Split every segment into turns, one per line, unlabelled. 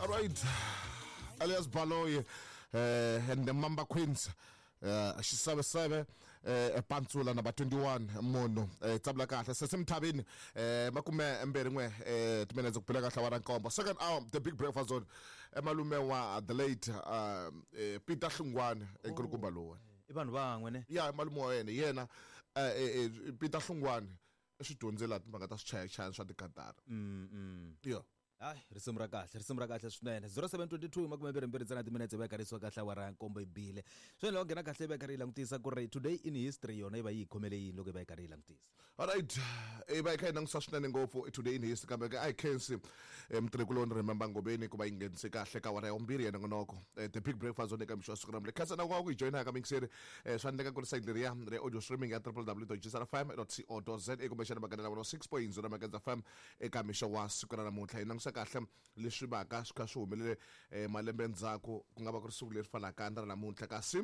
All right, Elias Baloyi and the Mamba Queens, xiseveseve, pantsula number 21 munhu, tsabula kahle sesemthavini, 21 timinetse ku phila kahle wa ra nkombo. Second hour, The Big Breakfast Zone, malume wa the late Peter Hlungwane, enkulukumba lowu.
I vanhu van'we ne?
Ya, malume wa yena, yena Peter Hlungwane swi dyondzela timhaka ta swichayachayani swa tikatara. Ya.
Hayi, risimu ra kahle, risimu ra kahle swinene. 0722 22 ntsena timinetse va karisiwa kahle awara ya nkombo yi bile. Swinene loko nghena kahle va karhi yi langutisa ku ri today in history yona yi va yi khomele yini loko yi va yi karhi yi langutisa.
Alright, i va yi kha yi langutisa swinene ngopfu today in history, kambe ke a hi khensi mutirhikuloni Remember Ngobeni ku va yi nghenise kahle ka awara ya vumbirhi ya nongonoko, The Big Breakfast Zone, eka mixo wa siku ra khensa na ku yi joyina ka mixeri. Swa endleka ku ri site leriya ri audio streaming ya www.gsrfm.co.za kumbexana maganela 106.0 Makenza FM. Eka mixo wa siku ra namuntlha hi langutisa kahle leswi vaka swi kha swi humelele malembe ndzhaku, ku nga va ku ri siku leri fanaka na ra namuntlha. Kasi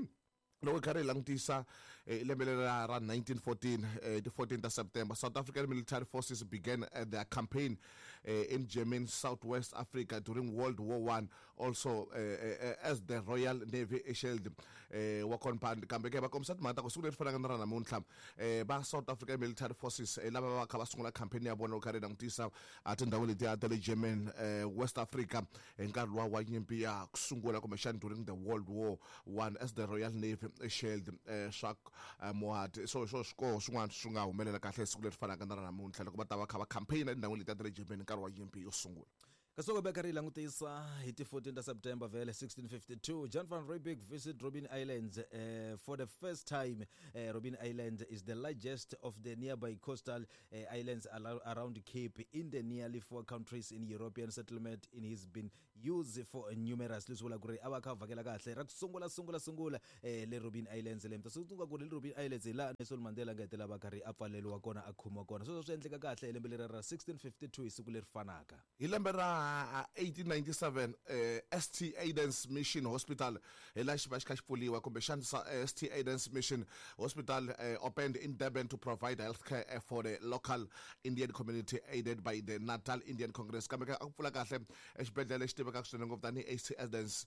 loko hi karhi hi langutisa, lembe leri ra 1914, ti 14 ta September, South African military forces began their campaign in German Southwest Africa during World War 1, also as the Royal Navy Shield wa Compound. Kambe ke va kombisa timhaka ta ku siku leri fanaka na ra namuntlha, va South African military forces, lava va kha va sungula campaign ya vona loko karhi hi langutisa a tindhawu letiya ta le German West Africa hi nkarhi luwa wa nyimpi ya ku sungula, kumbexana during the World War 1, as the Royal Navy Shield, swa Mohat. So swo swikoho swin'wana swi nga humelela kahle siku leri fanaka na ra namuntlha loko va ta va kha va campaign etindhawini letiya ta le Germany nkarhi wa nyimpi yo sungula.
Kasi loko va karhi hi langutisa hi ti 14 ta September vhele 1652, Jan van Riebeeck visit Robben Islands for the first time. Robben Island is the largest of the nearby coastal islands around Cape in the nearly four countries in European settlement in has been used for numerous. Leswi vula ku ri a va kha va vhakela kahle ra ku sungula sungula sungula, le Robben Islands. Le mi ta tsundzuka ku ri le Robben Islands hi laha Nelson Mandela nga hetelela va karhi a pfaleriwa kona, a khomiwa kona. Sweswo swi endleka kahle hi lembe leri ra 1652 hi siku leri fanaka.
Hi lembe ra 1897, St Aidan's Mission Hospital hi laha xi va xi kha xi pfuriwa, kumbexana St Aidan's Mission Hospital opened in Durban to provide healthcare for the local Indian community, aided by the Natal Indian Congress. Kambe a ku pfula kahle exibedhlele lexi tivekaka swinene ngopfu tanihi St Aidan's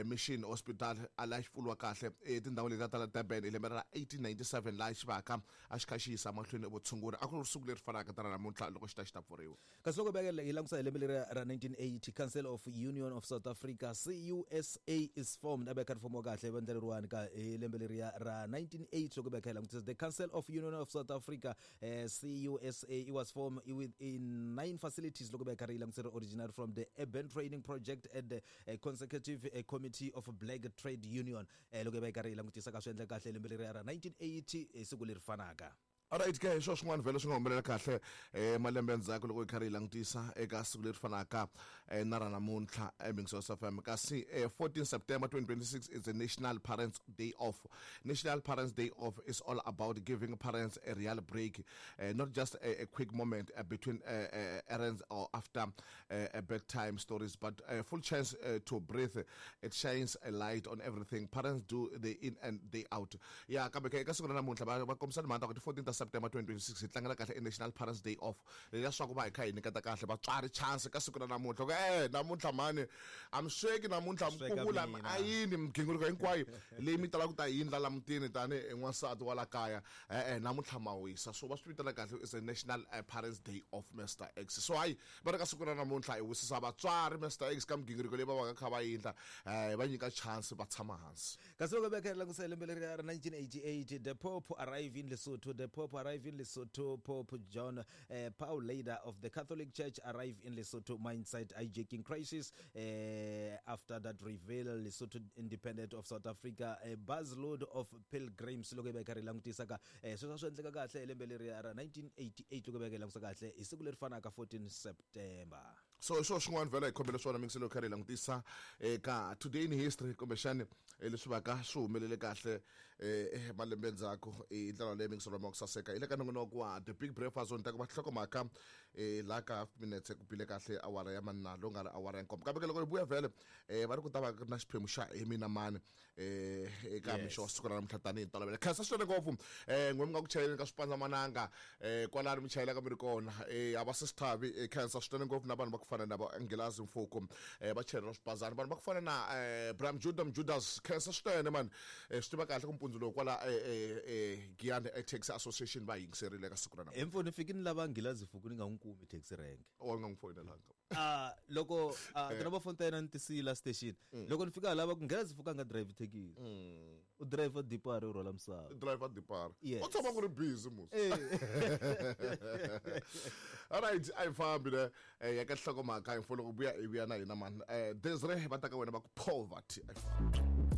Mission Hospital, a laha xi pfuriwa kahle etindhawini letiya ta la Durban hi lembe ra 1897, laha xi vaka a xi kha xi yisa mahlweni vutshunguri. A ku ri siku leri fanaka ta ra namuntlha loko xi ta xi ta pfuriwa.
Kasi loko beka hi langutisa hi lembe leri ra 1980, Council of Union of South Africa, CUSA, is formed. A va kha ri fomiwa kahle vandla leriwani ka hi lembe leriya ra 1980. Loko beka hi langutisa the Council of Union of South Africa, CUSA, it was formed with in nine facilities. Loko beka ri langutisa, original from the Urban Training Project at the Consecutive Committee of Black Trade Union. Loko beka ri langutisa ka swi endla kahle lembe leriya ra 1980 hi siku leri fanaka.
Alright ke, hi swo swin'wana vhele swi nga humelela kahle malembe endzhaku loko hi karhi hi langutisa eka siku leri fanaka na ra namuntlha eMingisos FM. Kasi 14 September 2026 is the National Parents Day Off. National Parents Day Off is all about giving parents a real break, not just a quick moment between errands or after bedtime stories, but a full chance to breathe. It shines a light on everything parents do day in and day out. Ya, kambe ke eka siku ra namuntlha va kombisa timhaka ta ku ti 14 ta September 2026 hi tlangela kahle i National Parents Day Off, leswaku va hi kha hi nyiketa kahle vatswari chance ka siku ra namuntlha ku namuntlha mhani a mi sweki, namuntlha mi
Sweka
kukula
mina.
A yini migingiriko hinkwayo leyi mi talaka ku ta yindla la mutini tanihi n'wansati wa la kaya, e-e, namuntlha ma wisa. So va swi vitana kahle is a National Parents Day Off, Mr X. So hayi, va ri ka siku ra namuntlha hi wisisa vatswari, Mr X, ka migingiriko leyi va va ka kha va yindla, va nyika chance va tshama hansi.
Kasi loko beka hi langutisa hi lembe leri ra 1988, the Pope arrive in Lesotho. The Pope arrive in Lesotho. Pope John Paul, leader of the Catholic Church, arrive in Lesotho mindset hijacking crisis after that reveal Lesotho independent of South Africa, a busload of pilgrims. Loko hi va hi karhi hi langutisa ka sweswo swi endleka kahle hi lembe leri ra 1988, loko hi va hi langutisa kahle hi siku leri fanaka 14 September.
So hi swona swin'wana vhela hi khomele swona mingiselo karhi hi langutisa eka today in history, kumbexani leswi vaka swi humelele kahle malembe ndzhaku hi ndlela leyi mingiselo ma ku saseka. Hi le ka nongonoko wa The Big Breakfast Zone, ta ku va nhlokomhaka. Laha ka half minutes ku bile kahle awara ya manna lowu nga ri awara ya nkombo, kambe ke loko hi vuya vhele va ri ku ta va ku ri na xiphemu xa hi mina mani eka mixo wa siku ra namuntlha tanihi ntolovelo. Khensa swinene ngopfu n'we mi nga ku chayeleni ka swipanzamananga kwalani mi chayelaka mi ri kona, a va se swi thavi. Khensa swinene ngopfu na vanhu va ku fana na va Nghilazi Mfuko, va chayela swipazana, vanhu va ku fana na Bram Judah Judas, khensa swinene mani. Swi tiva kahle ku mpundzu lowu kwala Giyani Taxi Association va yingiserile ka siku ra namuntlha.
Hi mpfuni fiki ni lava Nghilazi Fuku ni nga n'wi kumi taxi rank.
O nga n'wi foyinelanga?
Loko tinumber phone ta yena ni tisiyile station, loko ni fika lava ku Nghilazi Fuku a nga drive thekisi, u driver dipari, u rhwala misava.
Driver dipara.
Yes.
U tshama ku ri busy mus. Alright, a hi fambi ne ya ka nhlokomhaka hi mfo loko vuya hi vuya na hina mani. Desire va ta ka wena va ku poverty, a hi fambi.